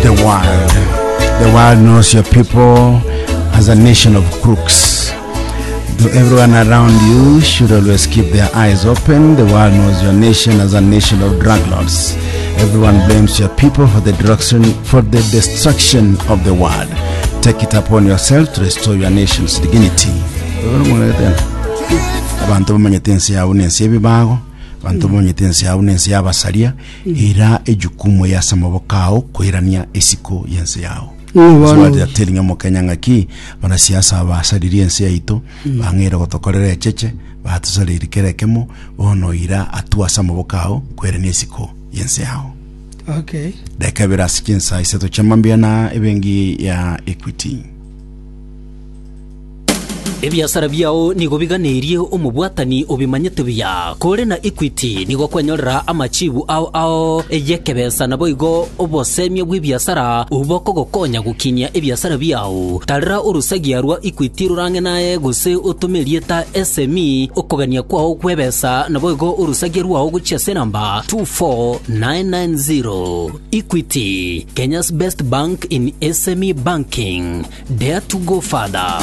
The world. The world knows your people as a nation of crooks. Though everyone around you should always keep their eyes open, the world knows your nation as a nation of drug lords. Everyone blames your people for the destruction, for the destruction of the world. Take it upon yourself to restore your nation's dignity. Abanto bamanyete ense yabo na ense y'ebibago, abanto bamanyete ense yabo na ense y'abasaria, ira ejukumu eye ase amaboko ao koirania esiko y'ense yao. Ng'o bono Swali ya telling omokenya ng'aki abanasiasa aba basaririe ense yaito bang'eire gotokorera echeche batosareirie kera ekemo bono ira atua ase amaboko ao koirania esiko y'ense yao. Okay. Dakika ibere ase chinsa isato chia mambia na ebenki ya Equity. Ebiasara biao nigo biganeirie omobwatani obimanyete buya. Kore na Equity nigo okwenyorera amachibu ao ao y'ekebesa naboigo obosemia bw'ebiasara bokogokonya gokinia ebiasara biao. Tarera orusagia rwa Equity rorang'e naye gose otome erieta SME okogania kwao gw'ebesa naboigo orusagia rwao gochia ase enamba 24990. Equity, Kenya's best bank in SME banking. Dare to go further.